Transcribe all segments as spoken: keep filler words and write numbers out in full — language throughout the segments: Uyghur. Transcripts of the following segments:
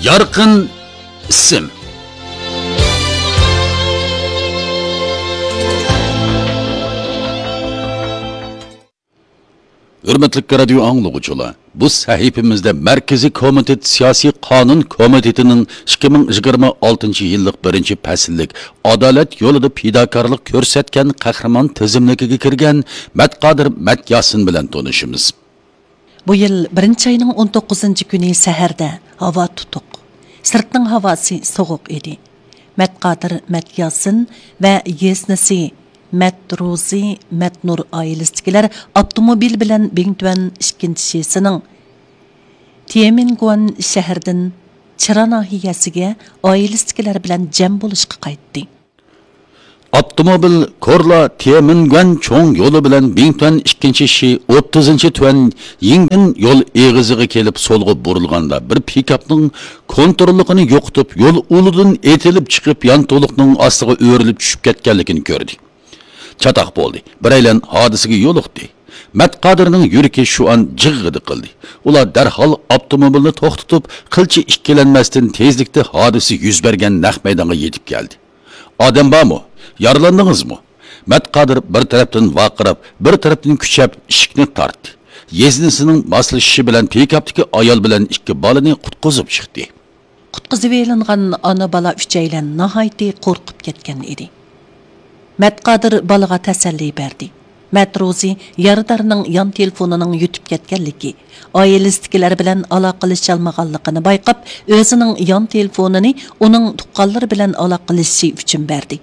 يارقىن ئىسىم. ھۆرمەتلىك رادىيو ئاڭلىغۇچىلار، بۇ سەھىپىمىزدە مەركىزىي كومىتېت سىياسىي قانۇن كومىتېتىنىڭ ئىككى مىڭ يىگىرمە ئالتىنچى يىللىق بىرىنچى پەسىللىك ئادالەت يولىدا پىداكارلىق كۆرسەتكەن قەھرىمان تىزىملىكىگە كىرگەن مەتقادىر مەتياسىن بىلەن تونۇشىمىز. بۇ يىل بىرىنچى ئاينىڭ ئون توققۇزىنچى كۈنى سەھەردە ھاۋا تۇتۇق، سىرتنىڭ ھاۋاسى سوغۇق ئىدى. مەتقادىر مەتياسىن ۋە يېزنىسى مەتروزى مەتنۇر ئائىلىسىدىكىلەر ئاپتوموبىل بىلەن بىڭتۈەن ئىككىنچى شىسىنىڭ تيەنئەنگۇەن شەھىرىدىن چىرا ناھىيەسىگە ئائىلىسىدىكىلەر بىلەن جەم بولۇشقا قايتتى. ئاپتوموبىل كورلا تيەنئەنگۇەن چوڭ يولى بىلەن بىڭتۈەن ئىككىنچى شى ئوتتۇزىنچى تۈەن يىڭگەن يول ئېغىزىغا كېلىپ سولغا بۇرۇلغاندا، بىر پىكاپنىڭ كونتروللۇقىنى يوقىتىپ، يول ئۇلىدىن ئېتىلىپ چىقىپ، يانتۇلۇقنىڭ ئاستىغا ئۆرۈلۈپ چۈشۈپ كەتكەنلىكىنى كۆردى. چاتاق بولدى. بىرەيلەن ھادىسىگە يولۇقتى. مەتقادىرنىڭ يۈرىكى شۇ ئان جىغغىدە قىلدى. ئۇلار دەرھال ئاپتوموبىلنى توختىتىپ، قىلچە ئىككىلەنمەستىن تېزلىكتە ھادىسە يۈز بەرگەن نەق مەيدانغا يېتىپ كەلدى. ئادەم بارمۇ؟ يارىلاندىڭىزمۇ؟ مەتقادىر بىر تەرەپتىن ۋارقىراپ، بىر تەرەپتىن كۈچەپ ئىشىكنى تارتتى. يېزنىسىنىڭ ماسلىشىشى بىلەن پىكاپتىكى ئايال بىلەن ئىككى بالىنى قۇتقۇزۇپ چىقتى. قۇتقۇزۇۋېلىنغان ئانا بالا ئۈچەيلەن ناھايىتى قورقۇپ كەتكەن ئىدى. مەتقادىر بالىغا تەسەللى بەردى. مەتروزى يارىدارنىڭ يان تېلېفونىنىڭ يۈتۈپ كەتكەنلىكى، ئائىلىسىدىكىلەر بىلەن ئالاقىلىشالمىغانلىقىنى بايقاپ، ئۆزىنىڭ يان تېلېفونىنى ئۇنىڭ تۇغقانلىرى بىلەن ئالاقىلىشىشى ئۈچۈن بەردى.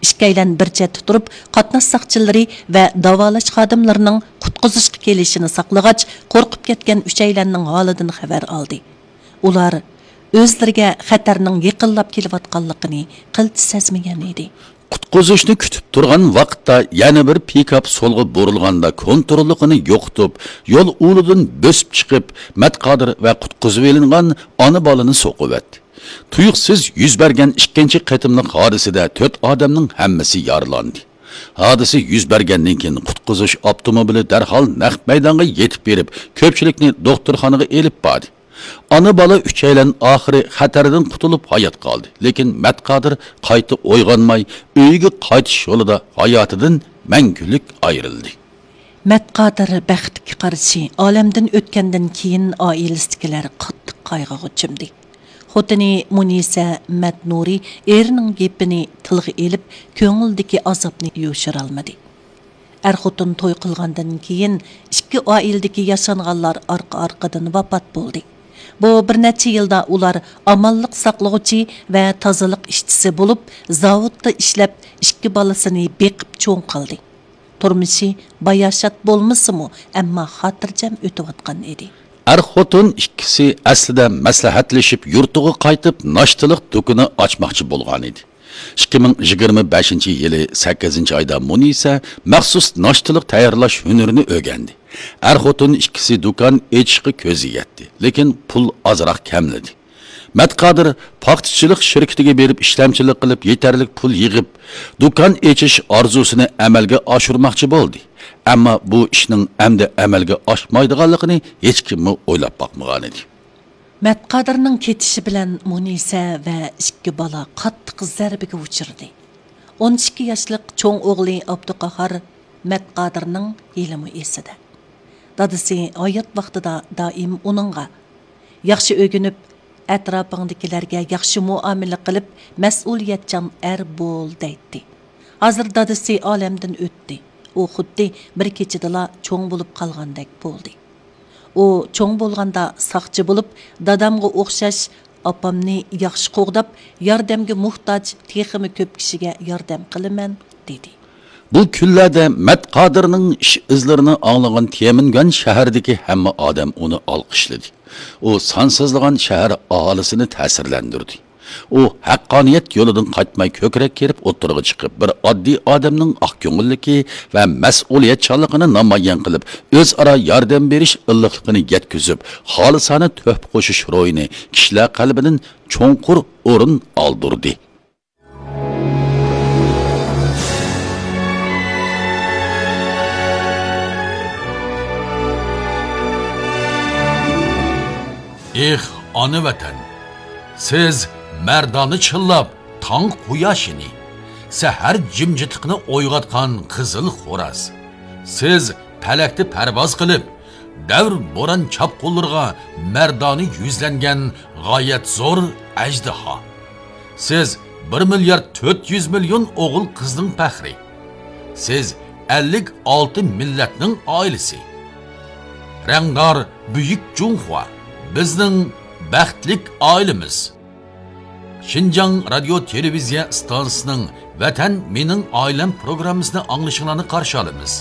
ئىككىيلەن بىر چەتتە تۇرۇپ، قاتناش ساقچىلىرى ۋە داۋالاش خادىملىرىنىڭ قۇتقۇزۇشقا كېلىشىنى ساقلىغاچ، قورقۇپ كەتكەن ئۈچەيلەننىڭ ھالىدىن خەۋەر ئالدى. ئۇلار ئۆزلىرىگە خەتەرنىڭ يېقىنلاپ كېلىۋاتقانلىقىنى قىلچە سەزمىگەن ئىدى. قۇتقۇزۇشنى كۈتۈپ تۇرغان ۋاقىتتا يەنە بىر پىكاپ سولغا بۇرۇلغاندا، كونتروللۇقىنى يوقىتىپ، يول ئۇلىدىن بۆسۈپ چىقىپ، مەتقادىر ۋە قۇتقۇزۇۋېلىنغان ئانا بالىنى سوقۇۋەتتى. تۇيۇقسىز يۈز بەرگەن ئىككىنچى قېتىملىق ھادىسىدە تۆت ئادەمنىڭ ھەممىسى يارىلاندى. ھادىسە يۈز بەرگەندىن كېيىن، قۇتقۇزۇش ئاپتوموبىلى دەرھال نەق مەيدانغا يېتىپ بېرىپ، كۆپچىلىكنى دوختۇرخانىغا ئېلىپ باردى. ئانا بالا ئۈچەيلەن ئاخىرى خەتەردىن قۇتۇلۇپ ھايات قالدى، لېكىن مەتقادىر قايتا ئويغانماي، ئۆيىگە قايتىش يولىدا ھاياتىدىن مەڭگۈلۈك ئايرىلدى. مەتقادىر بەختكە قارشى ئالەمدىن ئۆتكەندىن كېيىن، ئائىلىسىدىكىلەر قاتتىق قايغىغا چۆمدى. خوتۇنى مۇنىسە مەتنۇرى ئېرىنىڭ گېپىنى تىلغا ئېلىپ، كۆڭلىدىكى ئازابنى يوشۇرالمىدى. ئەر-خوتۇن توي قىلغاندىن كېيىن، ئىككى ئائىلىدىكى ياشانغانلار ئارقا-ئارقىدىن ۋاپات بولدى. بۇ بىر نەچچە يىلدا ئۇلار ئامانلىق ساقلىغۇچى ۋە تازىلىق ئىشچىسى بولۇپ، زاۋۇتتا ئىشلەپ، ئىككى بالىسىنى بېقىپ چوڭ قىلدى. تۇرمۇشى باياشات بولمىسىمۇ، ئەمما خاتىرجەم ئۆتۈۋاتقان ئىدى. ئەر-خوتۇن ئىككىسى ئەسلىدە مەسلىھەتلىشىپ، يۇرتىغا قايتىپ، ناشتىلىق دۇكىنى ئاچماقچى بولغانىدى. ئىككى مىڭ يىگىرمە بەشىنچى يىلى سەككىزىنچى ئايدا مۇنىسە مەخسۇس ناشتىلىق تەييارلاش ھۈنىرىنى ئۆگەندى. ئەر-خوتۇن ئىككىسى دۇكان ئېچىشقا كۆزگە يەتتى، لېكىن پۇل ئازراق كەملىدى. مەتقادىر پاختىچىلىق شىركىتىگە بېرىپ ئىشلەمچىلىك قىلىپ، يېتەرلىك پۇل يىغىپ، دۇكان ئېچىش ئارزۇسىنى ئەمەلگە ئاشۇرماقچى بولدى. ئەمما بۇ ئىشنىڭ ئەمدى ئەمەلگە ئاشمايدىغانلىقىنى ھېچكىممۇ ئويلاپ باقمىغانىدى. مەتقادىرنىڭ كېتىشى بىلەن مۇنىسە ۋە ئىككى بالا قاتتىق زەربىگە ئۇچرىدى. ئون ئىككى ياشلىق چوڭ ئوغلى ئابدۇقاھار مەتقادىرنىڭ ھېلىمۇ ئېسىدە. دادىسى ھايات ۋاقتىدا دائىم ئۇنىڭغا، «ياخشى ئۆگىنىپ، ئەتراپىڭدىكىلەرگە ياخشى مۇئامىلە قىلىپ، مەسئۇلىيەتچان ئەر بول» دەيتتى. ھازىر دادىسى ئالەمدىن ئۆتتى. ئۇ خۇددى بىر كېچىدىلا چوڭ بولۇپ قالغاندەك بولدى. ئۇ چوڭ بولغاندا ساقچى بولۇپ، دادامغا ئوخشاش ئاپامنى ياخشى قوغداپ، ياردەمگە موھتاج تېخىمۇ كۆپ كىشىگە ياردەم قىلىمەن، دېدى. بۇ كۈنلەردە مەتقادىرنىڭ ئىش ئىزلىرىنى ئاڭلىغان تيەنئەنگۈەن شەھىرىدىكى ھەممە ئادەم ئۇنى ئالقىشلىدى. ئۇ سانسىزلىغان شەھەر ئاھالىسىنى تەسىرلەندۈردى. ئۇ ھەققانىيەت يولىدىن قايتماي، كۆكرەك كېرىپ ئوتتۇرىغا چىقىپ، بىر ئاددىي ئادەمنىڭ ئاق كۆڭۈللۈكى ۋە مەسئۇلىيەتچانلىقىنى نامايان قىلىپ، ئۆزئارا ياردەم بېرىش ئىللىقلىقىنى يەتكۈزۈپ، خالىسانە تۆھپە قوشۇش روھىنى كىشىلەر قەلبىدىن چوڭقۇر ئورۇن ئالدۇردى. ئېھ، ئانا ۋەتەن! سىز مەردانە چىللاپ تاڭ قۇياشىنى، سەھەر جىمجىتلىقىنى ئويغاتقان قىزىل خوراز. سىز پەلەكتە پەرۋاز قىلىپ، دەۋر بوران چاپقۇنلىرىغا مەردانە يۈزلەنگەن غايەت زور ئەجدىھا. سىز بىر مىليارد تۆت يۈز مىليون ئوغۇل-قىزنىڭ پەخرى. سىز ئەللىك ئالتە مىللەتنىڭ ئائىلىسى. رەڭدار بۈيۈك جۇڭخۇا، بىزنىڭ بەختلىك ئائىلىمىز. شىنجاڭ رادىيو تېلېۋىزىيە ئىستانسىسىنىڭ ۋەتەن مېنىڭ ئائىلەم پروگراممىسىنى ئاڭلىشىڭلارنى قارشى ئالىمىز.